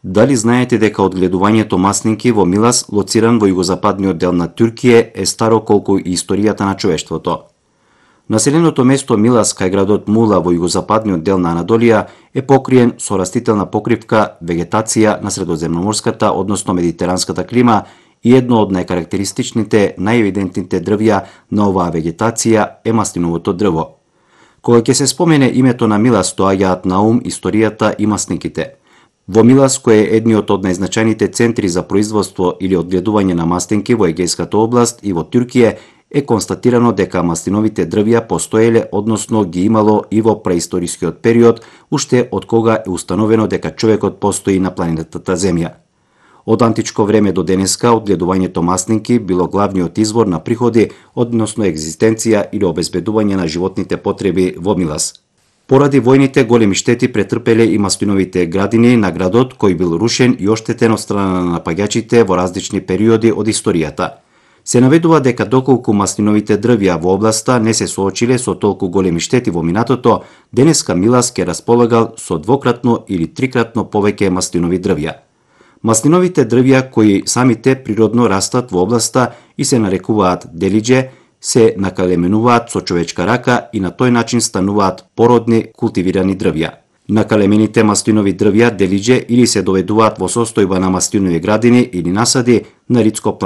Дали знаете дека одгледувањето маслинки во Милас, лоциран во југозападниот дел на Туркија, е старо колку и историјата на човештвото? Населеното место Милас кај градот Мула во југозападниот дел на Анадолија е покриен со растителна покривка, вегетација на средоземноморската, односно медитеранската клима и едно од најкарактеристичните, најевидентните дрвја на оваа вегетација е маслиновото дрво. Кога ќе се спомене името на Милас, доаѓаат на ум историјата и маслинките. Во Милас, кој е едниот од најзначајните центри за производство или одгледување на маслинки во Егејската област и во Туркија, е констатирано дека маслиновите дрвја постоеле, односно ги имало и во преисторискиот период, уште од кога е установено дека човекот постои на планетата Земја. Од античко време до денеска, одгледувањето маслинки било главниот извор на приходи, односно екзистенција или обезбедување на животните потреби во Милас. Поради војните, големи штети претрпеле и маслиновите градини на градот, кој бил рушен и оштетен од страна на напаѓачите во различни периоди од историјата. Се наведува дека доколку маслиновите дрвја во областа не се соочиле со толку големи штети во минатото, денеска Милас ке располагал со двократно или трикратно повеќе маслинови дрвја. Маслиновите дрвја, кои самите природно растат во областа и се нарекуваат делидже, се накалеменуваат со човечка рака и на тој начин стануваат породни култивирани дрвја. Накалемените маслинови дрвја делидже или се доведуваат во состојба на маслинови градини или насади на ридско